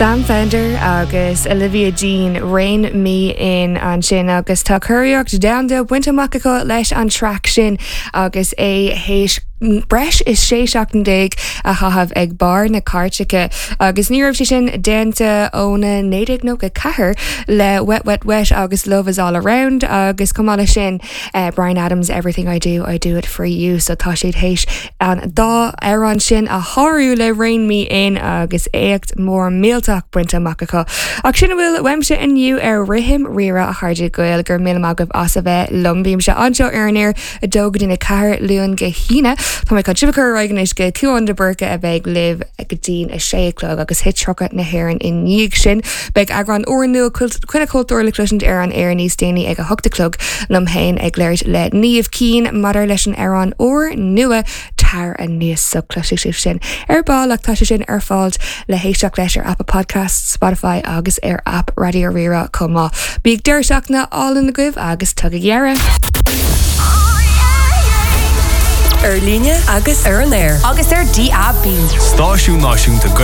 Sam Fender agus Olivia Dean, Rein Me In ansin agus tá curiarracht domhanda bainte amach acu leis an traic sin agus é théis breis is 16 seachtain a chaitheamh ag barr na cairteacha agus ní raibh sé sin déanta óna 1994 le Wet Wet Wet agus Love Is All Around agus chomh maith leis sin Bryan Adams Everything I Do I Do It For You so tá siad théis an dá amhrán sin a shárú le Rein Me In agus éacht mór millteach bainte amach acu. Ach sin a bhfuil uaimse inniu ar Rithim Rí-Rá a chairde Gael, go raibh míle maith agaibh as a bheith liom. Bímse anseo ar an aer 2 go dtí 4 Luan go hAoine. Tá mé chun sibh a chur ar aghaidh anois go Cuán de Búrca a bheidh libh go dtí a sé a chlog agus Hit 30 na hÉireann i ndiaidh sin. Beidh eagrán úrnua Coinne Cultúir le cloisint ar an aer níos déanaí ag a hocht a chlog, liom féin ag labhairt le Niamh Keane maidir leis an amhrán úr nua Tar Aníos so cloisfidh sibh sin ar ball ach tá sé sin ar fáil le héisteacht leis ar Apple Podcasts, Spotify agus ar aip Raidió Rí-Rá chomh maith. Bíodh deireadh seachtaine álainn agaibh agus tugaigí aire! Ar líne agus ar an aer. Agus ar DAB. Stáisiún Náisiúnta Gaeilge.